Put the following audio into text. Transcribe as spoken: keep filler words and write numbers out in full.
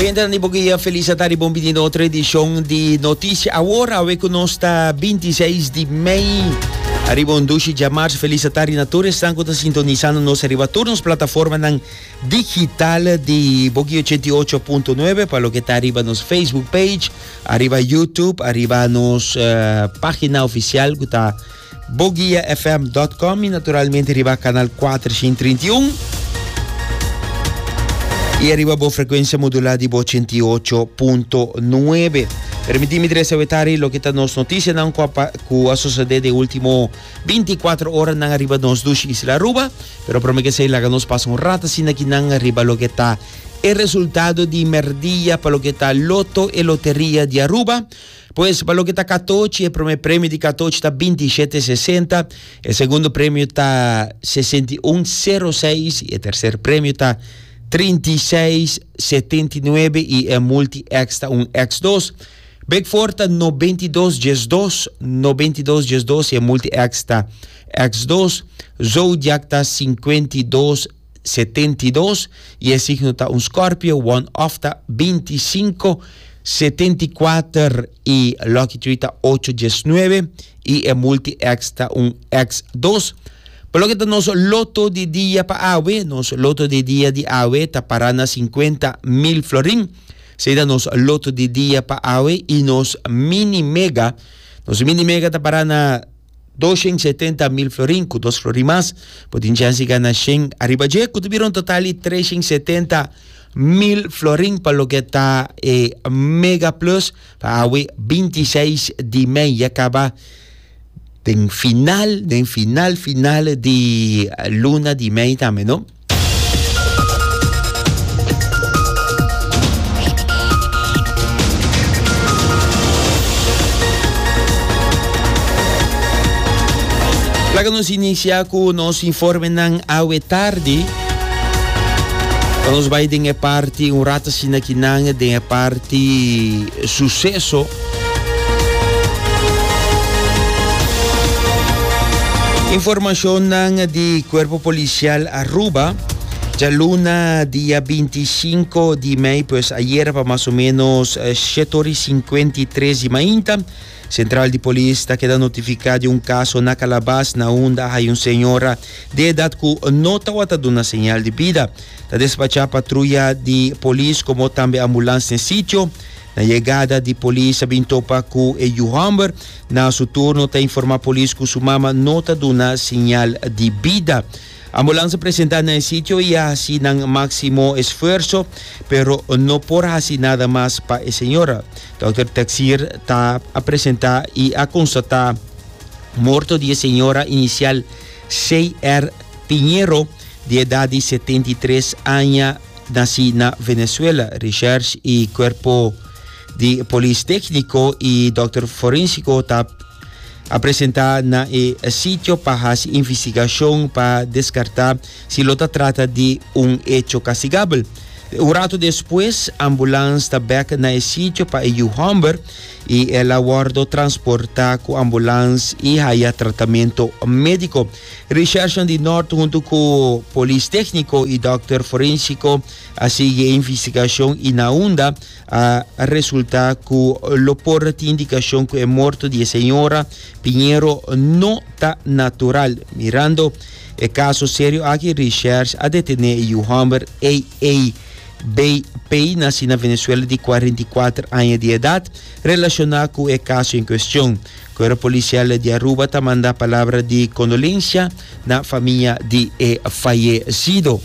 Oyentenan di Bo Guia, felis tardi, bon bini na otro edicion di Noticia Awor, awe cu nos ta binti seis di mei. Ariba un dushi diamars, felis tardi na tur esnan cu ta sintonisando nos ariba tur nos plataformanan digital di Bo Guia ochenta i ocho punto nuebe, pa loke ta ariba nos Facebook page, ariba YouTube, ariba nos, eh, pagina oficial cu ta boguia f m dot com y naturalmente ariba canal cuatrocientos treinta i un. Y arriba bo frecuencia modulada di bo ochenta i ocho punto nuebe. Permitimi trece wetari lo que ta nos noticia nan cu a cu a sucede de ultimo veinticuatro horas nan arriba nos dushi isla Aruba. Pero prome que se laga nos pasa un rato sin aquí nan arriba lo que ta el resultado di merdia pa lo que ta loto e loteria di Aruba. Pues, pa lo que ta catochi, el primer premio di catochi ta veintisiete sesenta, el segundo premio ta sesenta i un cero seis y el tercer premio ta treinta i seis setenta i nuebe y el multi X ta un X dos. Big Four ta noventa i dos dies dos, noventa i dos dies dos y el multi X ta X dos. Zodiac ta cincuenta i dos setenta i dos y el signo ta un Scorpio. One Off ta veinticinco setenta i cuatro y Lucky Three ta ocho dies nueve y el multi X ta un X dos. Por lo que nos loto di dia pa awe, nos loto di dia di awe ta parana cincuenta mil florin. Seida nos loto di dia pa awe y nos mini mega, nos mini mega ta parana doscientos setenta mil florin, cu dos florin mas, potin chance gana shen arriba je, cu tuvieron un total di trescientos setenta mil florin pa lo que ta, eh, mega plus pa awe veintiséis di mei, ya acaba den final, den final, final di luna di mei tambe, no? Laga nos inicia cu nos informenan awe tardi. Nos vai den e parti un rato sina kinan, den e parti suceso. Informacionnan di Cuerpo Policial Aruba. Ya luna dia veinticinco di mei, pues ayer pa más o menos, eh, siete horas y cincuenta y tres di mainta, Central di Polis ta queda notificada de un caso na Calabas, na unda hay un señora de edad cu no tawata duna señal de vida. Ta despacha patrulla di polis como tambe ambulancia en sitio. Na llegada di polis a bin topa cu e yu homber. Na su turno ta informa polis cu su mama no ta duna señal di vida. Ambulancia presenta na el sitio y haci nan máximo esfuerzo, pero no por haci nada mas pa e señora. Doctor Taxir ta a presenta y a constata morto di e señora inicial C R Piñero, de edad de setenta y tres años, nací na Venezuela. Recherche y cuerpo de polis técnico y doctor forensico ta a presentar na e sitio pa haci investigación pa descartar si lo ta trata de un hecho castigable. Un rato después, ambulance ta back na e sitio pa e yu homber y el a wordo transporta cu ambulance y haya tratamiento médico. Recherche di Noord junto cu polis técnico y doctor forensico a sigue investigación y na unda a resulta cu lo por ti indicación cu e morto di señora Piñero no ta natural. Mirando e caso serio aquí, Recherche a detene yu homber A A B P, nací na Venezuela de cuarenta y cuatro años de edad, relacionado con el caso en cuestión. Cuerpo policial de Aruba ta manda palabra de condolencia na familia de e fallecido.